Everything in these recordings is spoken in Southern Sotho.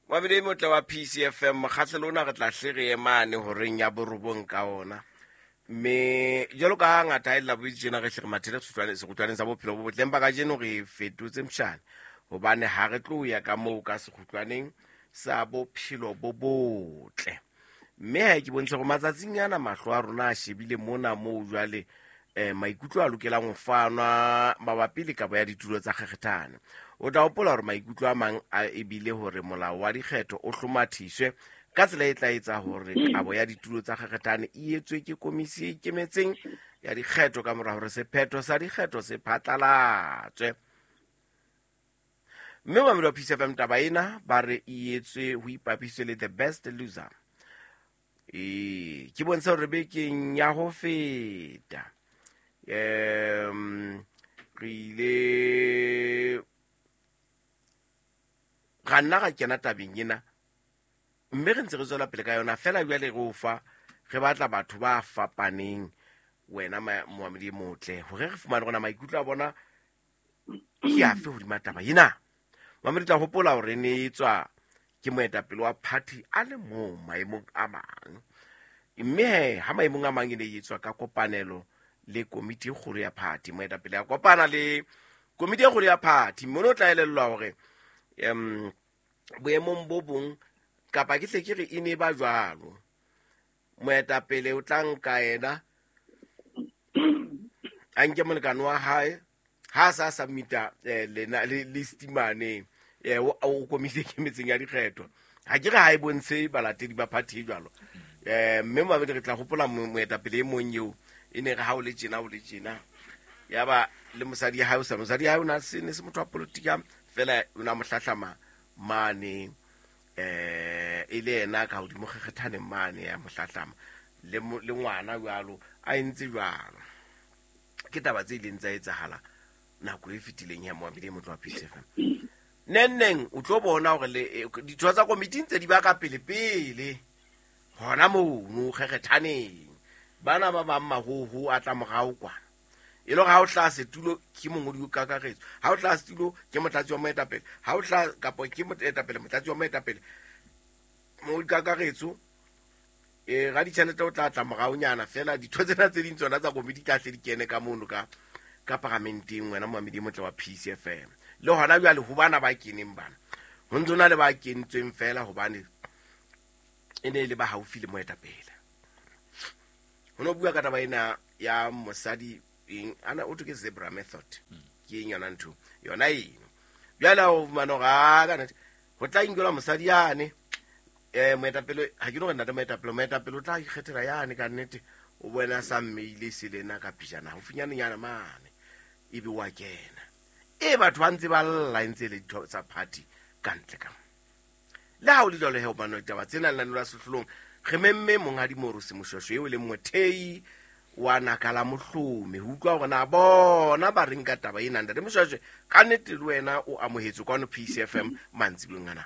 Mabedi motle wa PCFM, mokgahlelo ona re tla hle re emane horeng ya borobong ka ona. Mme jwalo ka ngata ha e la boitse tjena re hle re mathele sekgutlwaneng sa bophelo bo botle, empa kajeno re fetotse mshane hobane ha re tlo ya ka moo ka sekgutlwaneng sa bophelo bo botle. Mme ha ke bontshe hore matsatsing ana mahlo a rona a shebile mona moo jwale maikutlo a lokelang ho fanwa mabapi le kabo ya ditulo tsa kgekgethane. O tla hopola hore maikutlo a mang a ebile hore molao wa dikgetho o hlomathiswe ka tsela e tla etsa hore kabo ya ditulo tsa kgekgethane e etswe ke komisi e ikemetseng ya dikgetho ka mora hore sephetho sa dikgetho se phatlalatswe. Mme mamedi wa Peace FM, taba ena ba re e etswe ho ipapiswe le the best loser. Ke bontsha hore bekeng ya ho feta re ile ra nna ra kena tabeng ena, mme re ntse re tswela pele ka yona fela. Jwale re o fa re batla batho ba fapaneng, wena moamedi e motle, hore re fumane rona maikutlo a bona ke afe hodima taba ena. Mamedi, tla hopola hore ne e tswa ke moetapele wa party a le mong maemong a mang, mme he ha maemong a mang e ne e etswa ka kopanelo le komiti e kgolo ya party. Moetapele a kopana le komiti e kgolo ya party, mme o tla elellwa hore boemong bo bong kapa ke hle ke re e ne ba jwalo, moetapele o tla nka yena a nke molekane wa hae ha a sa submita lena le stimane o komiti e kemetseng ya dikgetho. Ha ke re ha e bontshe balatedi ba party e jwalo. Mme mabedi re tla hopola moetapele e mong eo e ne re ha o le tjena o le tjena, ya ba le mosadi ya hae o sa mosadi ya hae o na se ne se motho wa politika fela, o na mo hlahlama mane e le yena ka hodimo kgekgethaneng mane ya mo hlahlama le ngwana jwalo a entse jwalo. Ke taba tse ileng tsa etsahala nako e fetileng ya moamedi e motlo wa Peace FM. Neng neng o tlo bona hore le ditho tsa komiti ntse di ba ka pele pele hona mono kgekgethaneng, bana ba bang mahoho a tla morao kwana. E le hore ha o hlaha setulo ke mongodi o kakaretso, ha o hlaha setulo ke motlatsi wa moetapele, ha o hlaha kapa ke moetapele motlatsi wa moetapele mongodi kakaretso ra ditjhelete o tla tla moraonyana fela. Ditho tsena tse ding tsona tsa komiti tla hle di kene ka mono ka paramenteng, wena moamedi motle wa Peace FM. Le hona jwale ho bana ba keneng bana ho ntse na le ba kentsweng fela hobane e ne e le ba haufi le moetapele. Ho no bua ka taba ena ya mosadi eng ana o ke zebra method ke eng yona ntho yona eno. Jwale o fumana hore a ka nnete ho tla inkelwa mosadi yane moetapele, ha ke no re ntate moetapele, moetapele o tla ikgethela yane ka nnete, o bona sa mmeile se lena ka pijana haufinyane mane ebe wa kena. Batho ba ntse ba lla ntse le ditho tsa party ka ntle ka. Le ha o le jwalo he hobane ditaba tsena le la sehlolong re memme monghadi Morusi Moshweshwe eo e leng mothei wa naka la mohlomi ho utlwa hore na bona ba reng ka taba ena. Ntate Moshweshwe, ka nnete le wena o amohetswe kwano Peace FM mantsiboeng ana.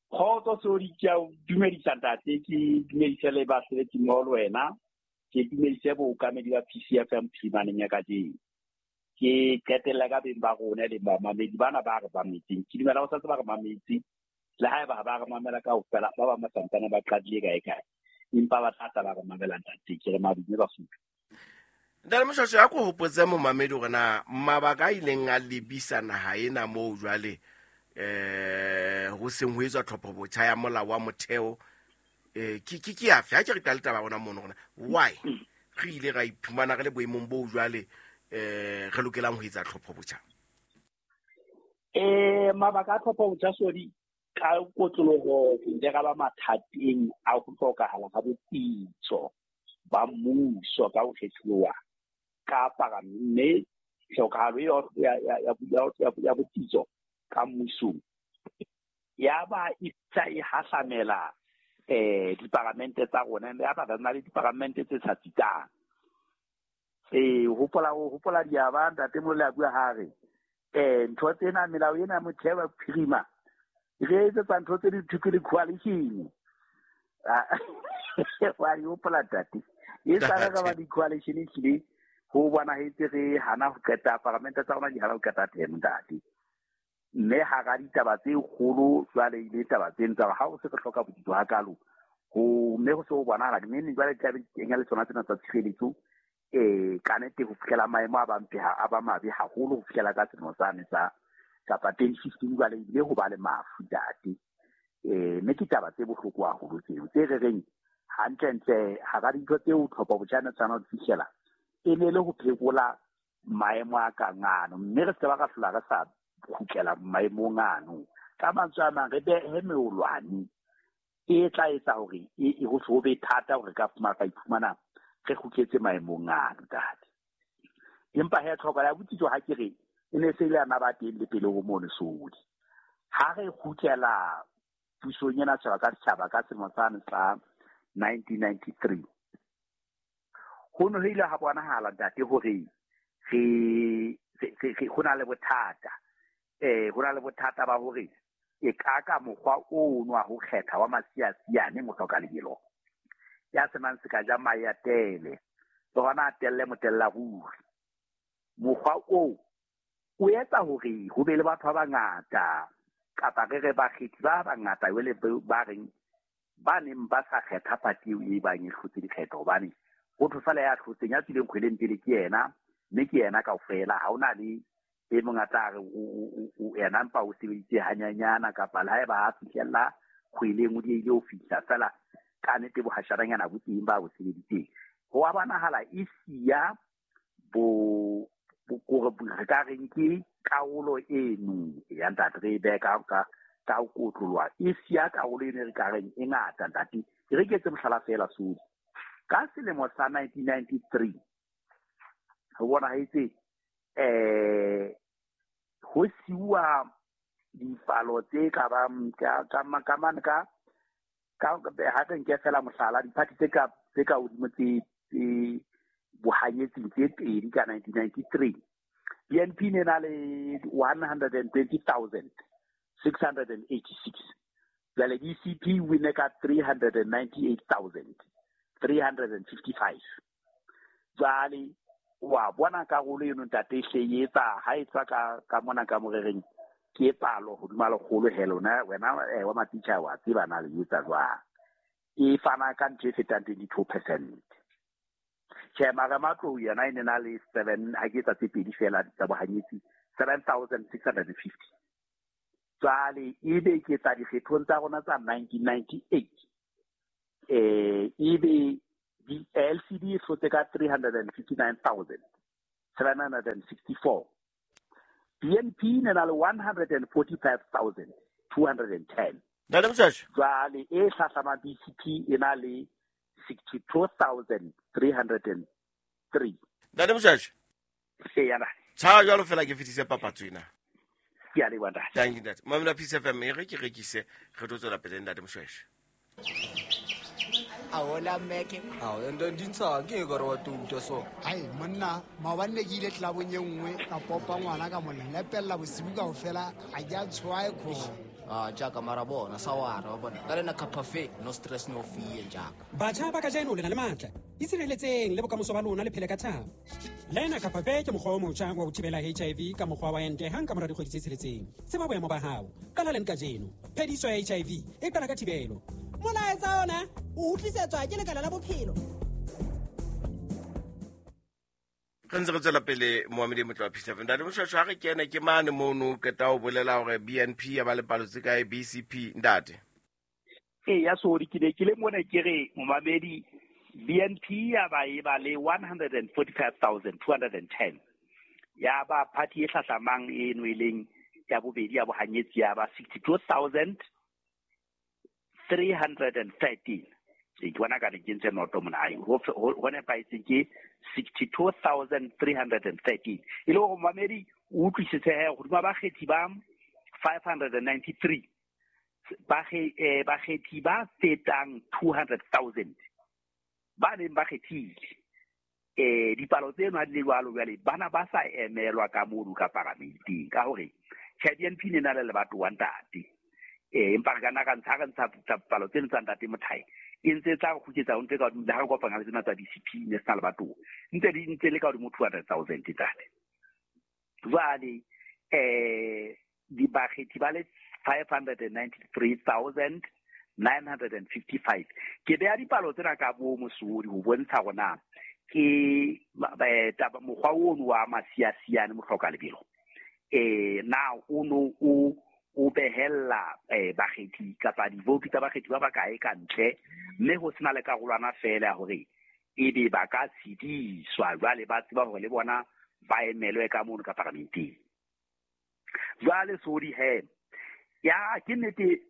Kgotso Sodi, ke a o dumedisa ntate, ke dumedise le basebetsi mmoho le wena, ke dumedise bookamedi ba Peace FM phirimaneng ya kajeno. Ke qetella ka beng ba rona le bamamedi bana ba re mametseng. Ke dumela ho santse ba re mametse, le haeba ha ba re mamela kaofela, ba bang ba santsane ba qadile kae kae, empa ba tla tla ba re mamela ntate. Ke re madume Basotho. Ntate Moshweshwe, a ko hopotse momamedi hore na mabaka a ileng a lebisa naha ena moo jwale ho seng ho etswa tlhopho botjha ya molao wa motheo ke afe? Ha ke re qale taba rona mono rona why re ile ra iphumana re le boemong boo jwale re lokelang ho etsa tlhopho botjha? Mabaka a tlhopho botjha Sodi, ka kotloloho re ile ra ba mathateng a ho hlokahala ha botsitso ba mmuso ka ho kgethuwa ka mme tlhokahalo ya botsitso ka mmusong ya ba e tla e hahlamela diparamente tsa rona, ya ba na le diparamente tse sa tsitsang. Hopola diaba ntate Molole a bua ha re ntho tsena melao ena motheo wa phirima re etsetsa ntho tse di thwe le coalition. Wa di hopola ntate, e sa re ba di coalition ehlile ho bonahetse re hana ho qeta paramente tsa rona di hana ho qeta teng ntate. Mme Mme hara ditaba tse kgolo jwale ile taba tseno tsa ha o se re hloka botsitso hakalo ho mme ho se ho bonahala mme jwale tlabe di kenya le tsona tsena tsa tshireletso ka nnete ho fihlela maemo a bampe a ba mabe haholo ho fihlela ka selemo sane sa kapa 2015 jwale ebile ho ba le mafu ntate. Mme ke taba tse bohloko haholo tseo tse re reng hantlentle hara dintho tseo tlhopho botjha ne tshwana ho fihlela e ne le ho phekola maemo a kang ano, mme re se ba ra hlola re sa kgutlela maemong ano. Ka mantswe a mang re behe meolwane e tla etsa hore e ho be thata hore ka fumana ka iphumana re kgutletse maemong ano ntate. Empa he tlhoko ya botsitso ha ke re e ne se ile ya ba teng le pele ho mono sodi. Ha re kgutlela pusong ena setjhaba ka setjhaba ka selemo sane sa 1993 ho ne ho ile ha bonahala ntate hore re ho na le bothata. Ho na le bothata ba hore e ka ka mokgwa ono wa ho kgetha wa masiasiane mohloka lebelo ya senang se ka ja mahe a tele le hona a telle motella ruri. Mokgwa oo o etsa hore ho be le batho ba bangata kapa re re bakgethi ba bangata jwale ba reng ba neng ba sa kgetha party eo e bang e hlotse dikgetho, hobane ho thwe fela ya hlotseng ya tswileng kgweleng pele ke yena, mme ke yena kaofela. Ha hona le e mong a tla re o yena mpa o sebeditse hanyanyana kapa le haeba a fihlella kgweleng o diehile ho fihla fela ka nnete bohasharanyana bo teng ba bo sebeditseng. Ho a bonahala e siya bo kore re ka reng ke karolo eno ya ntate re e behe ka ho kotloloha, e siya karolo eno e re ka reng e ngata ntate. Ke re ke etse mohlala feela sodi. Ka selemo sa 1993 ho bonahetse ho siuwa dipalo tse ka bang ka ha re nke fela mohlala diphathi tse ka hodimo tse bohanyetsing tse pedi ka 1993. BNP ne na le 120,686. Jwale DCP win ka 398,355. Jwale wa bona karolo eno ntate e hle e etsa ha e tswa ka mona ka morereng ke palo hodima lekgolo he lona wena wa matitjha wa tseba na le etsa jwang. E fana ka ntho e fetang 22%. Tjhe, mara matlou yona e ne na le 7 ha ke etsa tse pedi fela tsa bohanyetsi 7,650. Jwale ebe ke tsa dikgethong tsa rona tsa 1998 ebe LCD e hlotse ka 359,764. BNP ne na le 145,210. Ntate Moshweshwe. Jwale e hlahlama BCP e na le 62,303. Ntate Moshweshwe. Eya ntate. Tshwara jwalo fela ke fetise papatso ena. Ke a leboha ntate. Thank you ntate. Mamela Peace FM e re ke rekise re tlo tswela pele ntate Moshweshwe. Aola meke. Ao ende ndintsa ke ka re wa tuta so. Ai monna maobane ne ke ile tlabong e nngwe ka popa ngwana ka mo lepella bosibu kaofela a ke a tshwae kgomo. Ah jaaka mara bona sawara wa bona. Ka lena cafe no stress no fear jaaka. Batjha ba kajeno le na le matla. Itshireletseng le bokamoso ba lona le phele ka thabo. Lena Capafe ke mokgwa o motjha wa ho thibela HIV ka mokgwa wa ente hang ka mora dikgwedi tse tsheletseng. Tseba boemo ba hao. Qala leng kajeno. Phediso ya HIV e qala ka thibelo. Molaetsa ona o utlwisetswa ke Lekala la Bophelo. Re ntse re tswela pele moamedi motlo wa Peace FM. Ntate Moshweshwe ha re kene ke mane mono qeta ho bolela hore BNP ya ba le palo tse kae BCP ntate. Eya sodi ke ne ke le mona ke re momamedi BNP ya ba e ba le 145,210. Ya ba party e hlahlamang eno e leng ya bobedi ya bohanyetsi ya ba 62,313. Ke bona ka re ke ntse noto mona ai ho nepahetseng ke 62,313. E le hore momamedi o utlwisise he hodima bakgethi ba 593 bakgethi ba fetang 200,000 ba neng ba kgethile. Dipalo tseno ha di le jwalo jwale bana ba sa emelwa ka mono ka paramenteng ka hore tjhe BNP ne na le lebatowa ntate. Empa re ka nna ka ntsha re ntsha palo tseno tsa ntate Mothae e ntse tla go kgutsetsa o ntse ka hodimo le ha re kopana le tsena tsa DCP ne se na lebatowa ntse di ntse le ka hodimo 200,000 ntate. Jwale Bakgethi ba le 593,955. Ke beha dipalo tsena ka bo mosodi ho bontsha hore na ke mokgwa ono wa masiasiane mohloka lebelo na o no o behella bakgethi kapa divoutu tsa bakgethi ba bakae ka ntle, mme ho sena le karolwana fela ya hore ebe ba ka tshediswa jwale ba tseba hore le bona ba emelwe ka mono ka paramenteng. Jwale sodi he ya ke nnete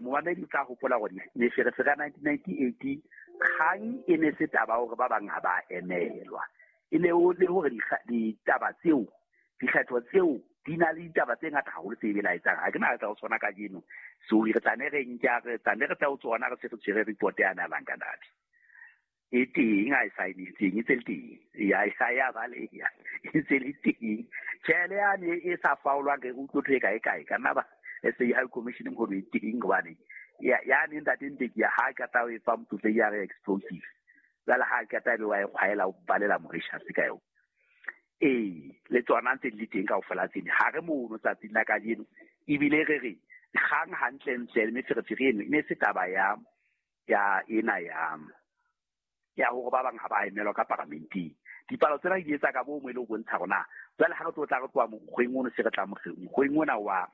momamedi o tla hopola hore meferefere ya 1998 kgang e ne se taba hore ba bang ha ba emelwa, e ne le hore ditaba tseo dikgetho tseo di na le ditaba tse ngata haholo tse belaetsang. Ha ke na tsa ho tsona kajeno, so re tla ne re nka re tla ne re tla ho tsona re se re tshwere report ya Nalanka Dabi e teng a e saenetseng e tse le teng ya e sa ya baleha e tse le teng tjhele yane e sa faolwang re utlwe ntho e kae kae ka nna ba SA High Commission hore e teng hobane ya ne ntate Mbeki ya ha ka tla e fa motsofe ya re explosive jwale ha ka tla be wa e kgwaela o balela Mauritius ka yona. Ee, le tsona ntse di le teng kaofela tsene ha re mono tsatsing la kajeno, ebile re re kgang hantlentle le meferefere eno e ne se taba ya ena ya hore ba bang ha ba emelwa ka paramenteng. Dipalo tsena di etsa ka bomo e le ho bontsha hore na jwale ha re tlo tla re tloha mokgweng ono se re tla mokgweng ona wa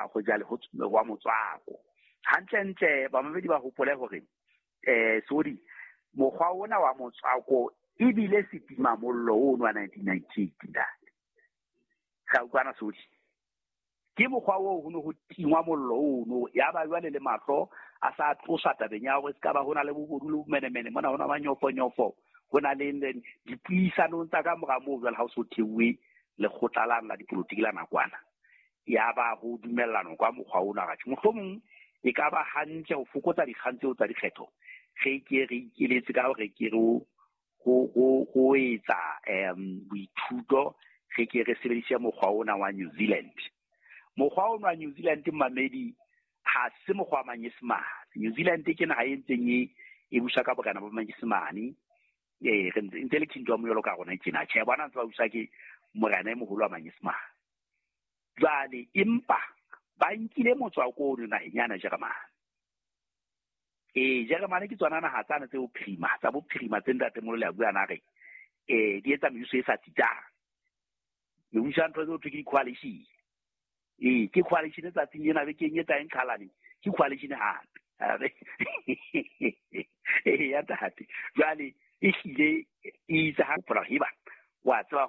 ho jale wa motswako. Hantlentle bamamedi ba hopole hore sorry mokgwa ona wa motswako ebile setima mollo ono wa 1998 ntate. Ga utlwana sodi. Ke mokgwa oo ho ne ho tingwa mollo ono ya ba jwale le mahlo a sa tlosa tabeng ya hore se ka ba hona le bobodu le bomenemene mona hona ba nyofonyofo ho na le dipuisanong tsa ka mora moo jwale ha o so theuwe lekgotla la dipolotiki la nakwana ya ba ho dumellana kwa mokgwa ona ga mohlomong e ka ba hantle ho fokotsa dikgang tseo tsa dikgetho re ke re ikeletse ka hore ke re ho etsa boithuto re ke re sebedise mokgwa ona wa New Zealand. Mokgwa ona wa New Zealand mamedi ha se mokgwa wa Manyesemane. New Zealand ke naha e ntseng e busa ka bokana ba Manyesemane. Re ntse le kingdom jwalo ka rona tjena. Tjhe, bona ntse ba busa ke morena e moholo wa Manyesemane. Jwale empa ba nkile motswako ono naheng yana Jeremane. Jeremane ke tsona naha tsane tse bophirima, tsa bophirima tse ntate Molole a bua na re di etsa mebuso e sa tsitsang. Mebuso ya ntho tseo thwe ke di-coalition. Ke coalition tsatsing ena bekeng e tlang qhalane, ke coalition hape. Ya ntate. Jwale e hlile e itse ha hopola heba wa tseba